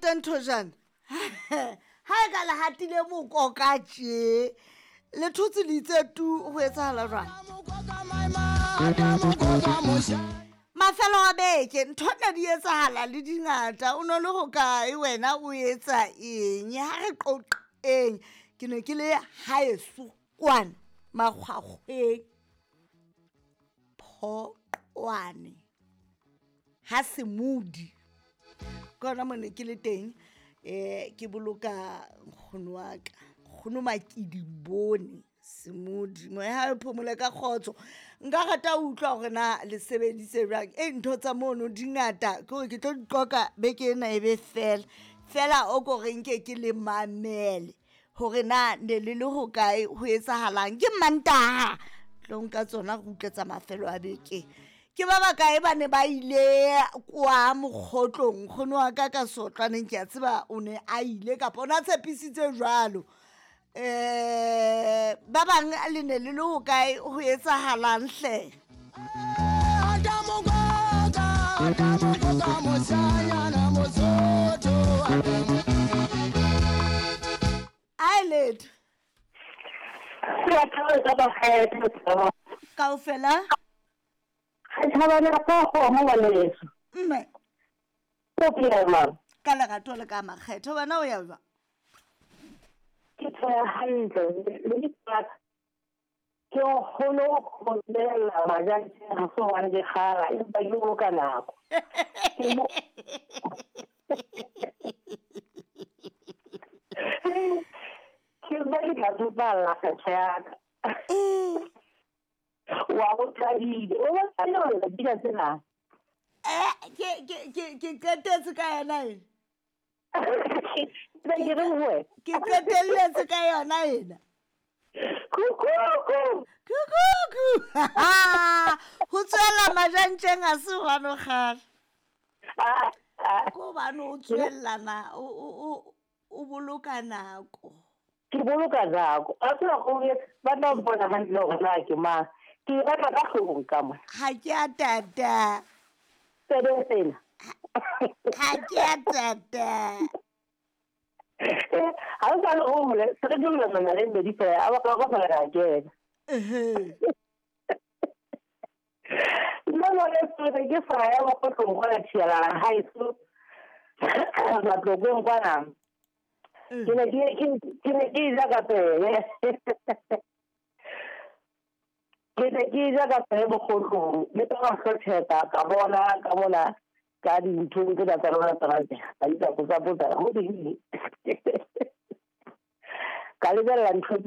Teng thojana ha e ka le hatile mokoka tje le thotse le itse tu ho etsahala jwang? Mafelo a beke ntho ne di etsahala le dingata, o no le hokae wena, o etsa eng? Ha re qoqeng. Ke ne ke le haeso kwana Makgwakgweng, Phoqwane, ha Semodi, ke hona mo ne ke le teng. Ke boloka nkgono wa ka, nkgono Makidi Bone Semodi, moya ha e phomole ka kgotso. Nka rata ho utlwa hore na le sebeditse jwang. E ntho tsa mono di ngata, ke hore ke tlo di qoqa beke ena e be fela fela. O ko re nke ke le mamele hore na ne le le hokae, ho etsahalang. Ke Mantaha tlo nka tsona, re utlwe tsa mafelo a beke. Ke ba bakae ba ne ba ile kwa mokgotlong? Nkgono wa ka ka sotlwaneng, ke a tseba o ne a ile kapa o ne a tshepisitse jwalo. Ba bang le ne le le hokae, ho etsahalang hle? Ai letho kaofela. Mme ka lerato le ka makgetho, wena o ya jwang? Ke phela hantle le dipaka, ke kgone ho lebella majanteng, ha se hobane ke kgala, empa ke boloka nako. Ke mpa ke tla tsofalla kgetho ya ka. Wa go thabile o batla le dina tsena. Ke qetetse ka yona ena. Ke re ho Ke qetelletse ka yona ena. Kukuku. Kukuku. Ho tswela majantjeng a se hobane o kgala, ke hobane o tswellana o boloka nako. Ke boloka nako, a tseba gore ba tla mpona hantle hore na ke mang. Ke e batla ka hloohong ka mona. Ha ke a tata. Tsebe sena. Ha ke a tata. Ha o sa le o mole se re dumellana le mmedi fela a ba ka fela ka kena. Nna mone se ke sa ya mokgotlong kwana thialana haeso Matlokong kwana. Ke ne ke ja ka pele. Ke ne ke ja ka pele bokgotlong le ka mahlotheka ka bona ka mona ka dinthong tsena tsa lona tsa ka di tsa potsa potsa ho di ka lebella ntho.